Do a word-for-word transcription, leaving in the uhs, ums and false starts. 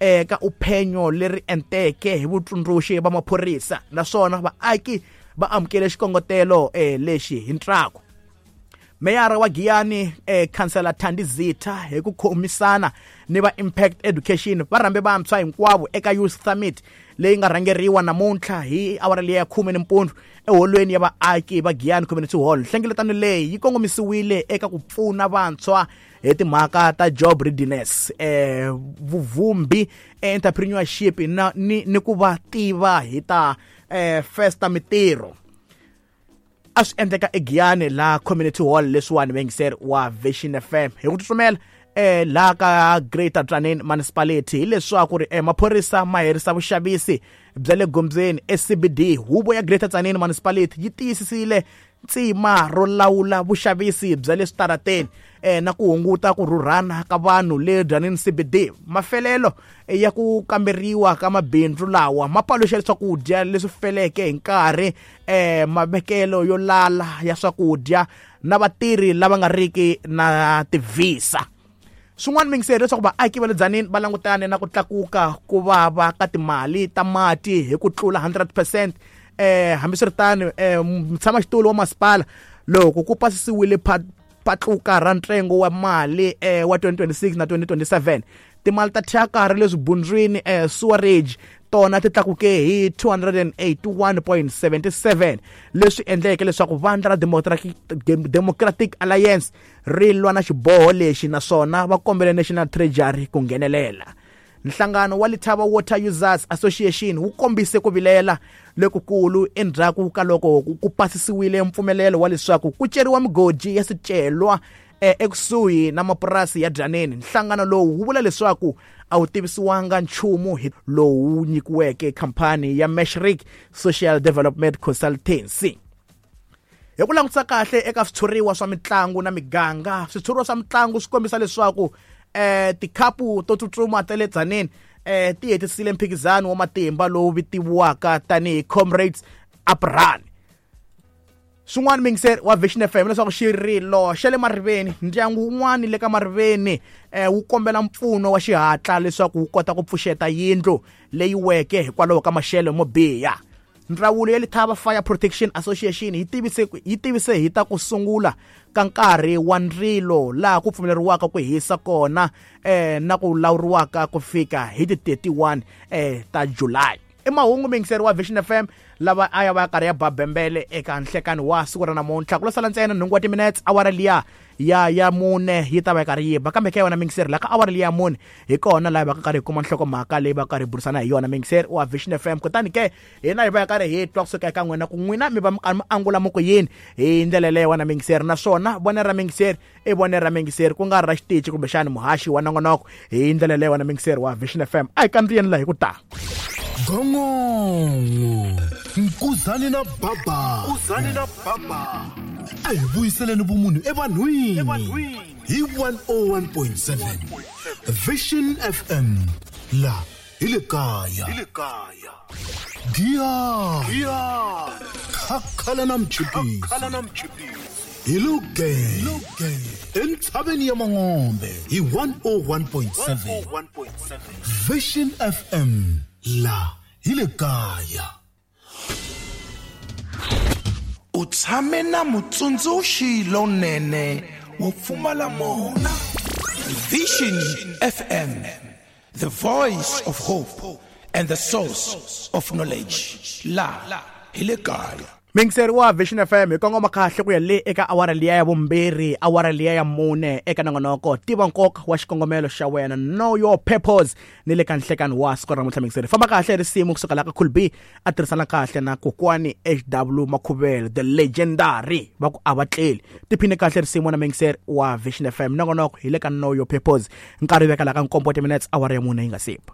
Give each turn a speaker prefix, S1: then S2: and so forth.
S1: eka uphenyo leri enteke hi vutsundzuxi va maphorisa, naswona vaaki va amukele xikongotelo eh, lexi hi ntsako. Meyara wa Giyani eh, Khansela Thandi Zitha hi ku khomisana ni va Impact Education va rhambe vantshwa hinkwavo eka Youth Summit leyi nga rhangeriwa namuntlha hi awara liya ya khume nimpundzu eholweni ya vaaki va Giyani Community Hall. Nhlengeletano leyi yi kongomisiwile eka ku pfuna vantshwa hi timhaka ta job readiness, eh, vuvumbi, entrepreneurship na ni, ni ku va tiva hi ta eh, festa mitirho. A swi endleka eGiyani la Community Hall leswiwani vayingiseri wa Vision F M. Hi ku tsutsumela eh la ka Greater Tzaneen Municipality hileswaku ri eh, maphorisa ma herisa vuxavisi bya le gondzweni e C B D. Huvo ya Greater Tzaneen Municipality yi tiyisisile tsima ro lawula vuxavisi bya le switarateni eh, na ku hunguta ku rhurhana ka vanhu le Tzaneen C B D. Mafelelo ya ku kamberiwa ka mabindzu lawa ma paluxa swakudya leswi feleke hi nkarhi, eh, mavekelo yo lala ya swakudya na vatirhi lava nga riki na tivhisa. Swin'wana mingiseri leswaku vaaki va le Tzaneen va langutane na ku tlakuka ku vava ka timali ta mati hi ku tlula hundred percent. Eh, hambiswiritano, eh, mutshamaxitulu wa masipala loko ku pasisiwile patluka ra ntsengo wa mali, eh, wa twenty twenty-six na twenty twenty-seven, timali ta thyaka ra le swibundzwini, eh, sewerage tona ti tlakuke hi two hundred and eighty-one point seven seven, leswi endleke leswaku vandla ra Democratic, Democratic Alliance ri lwa na xiboho lexi, naswona va kombele National Treasury ku nghenelela. Nhlangano wa Letaba Water Users Association wu kombise ku vilela lokukulu endzhaku ka loko ku pasisiwile mpfumelelo wa leswaku ku ceriwa migodi ya swicelwa, eh, ekusuhi na mapurasi ya Tzaneen. Nhlangano lowu wu vula leswaku a wu tivisiwanga nchumu hi lowu nyikiweke khampani ya Mashreq Social Development Consultancy. Hi ku langutisa kahle eka switshuriwa swa mitlangu na miganga, switshuriwa swa mitlangu swi kombisa leswaku eh, tikhapu to tsutsuma ta le Tzaneen, eh, ti hetisile mphikizano wa matimba lowu vitiwaka tanihi Comrades Uprun. Swin'wana mingiseri wa Vision F M leswaku xirilo xa le Mariveni, ndyangu wun'wani le ka Mariveni, eh, wu kombela mpfuno wa xihatla leswaku wu kota ku pfuxeta yindlu leyi weke hikwalaho ka maxelo mo biha. Ndzawulo ya Letaba Fire Protection Association yi tivise, yi tivise hi ta ku sungula ka nkarhi wa ndzilo laha ku pfumeleriwaka ku hisa kona, eh, na ku lawuriwaka ku fika hi ti thirty-one, eh, ta July. I mahungu mingiseri wa Vision F M lava a ya va karhi ya babembele eka nhlekani wa siku ra namuntlha. Ku lo sala ntsena nhungu wa timinetse, awara liya ya ya mune yi ta va yi karhi yi ba, kambe ka yona mingiseri la ka awara liya ya mune hi kona laha va ka karhi hi kuma nhlokomhaka leyi va karhi hi burisana hi yona mingiseri wa Vision F M. Kutani ke hina hi va hi karhi hi twa kusuka eka n'wina ku n'wina mi va mi karhi mi angula mi ku yini hi ndlela leyi wena mingiseri, naswona vonelo ra mingiseri i vonelo ra mingiseri ku nga ri ra xitichi kumbexani muhaxi wa nongonoko hi ndlela leyi wena mingiseri wa Vision F M. A hi kandziyeni laha hi ku ta
S2: Gongongo Nkuzani na Baba,
S3: Nkuzani na Baba,
S2: a hi vuyiseleni vumunhu evanhwini hi one oh one point seven Vision F M la hi le kaya.
S3: Hi le kaya.
S2: Giya.
S3: Giya.
S2: Khakhala na mchipisi.
S3: Khakhala na mchipisi.
S2: Hi lo ge. Entshaveni ya Mangombe hi one oh one point seven Vision F M la hi le kaya.
S3: U tshame na mutsundzuxi lonene wo pfumala mona. Vision F M, the voice of hope and the source of knowledge. La hi le kaya.
S1: Mingiseri wa Vision F M hi kongoma kahle ku ya le eka awara liya ya vumbirhi, awara liya ya mune eka nongonoko tiva nkoka wa xikongomelo xa wena, know your purpose, ni le ka nhlekani wa siku ra namuntlha. Mingiseri famba kahle risimu kusuka la ka Cool B a tirhisana kahle na kokwani H W Makhuvele the legendary va ku a va tleli. Tiphine kahle risimu na mingiseri wa Vision F M. Nongonoko hi le ka know your purpose, nkarhi veka la ka nkombo wa timinutes awara ya mune yi nga sipa.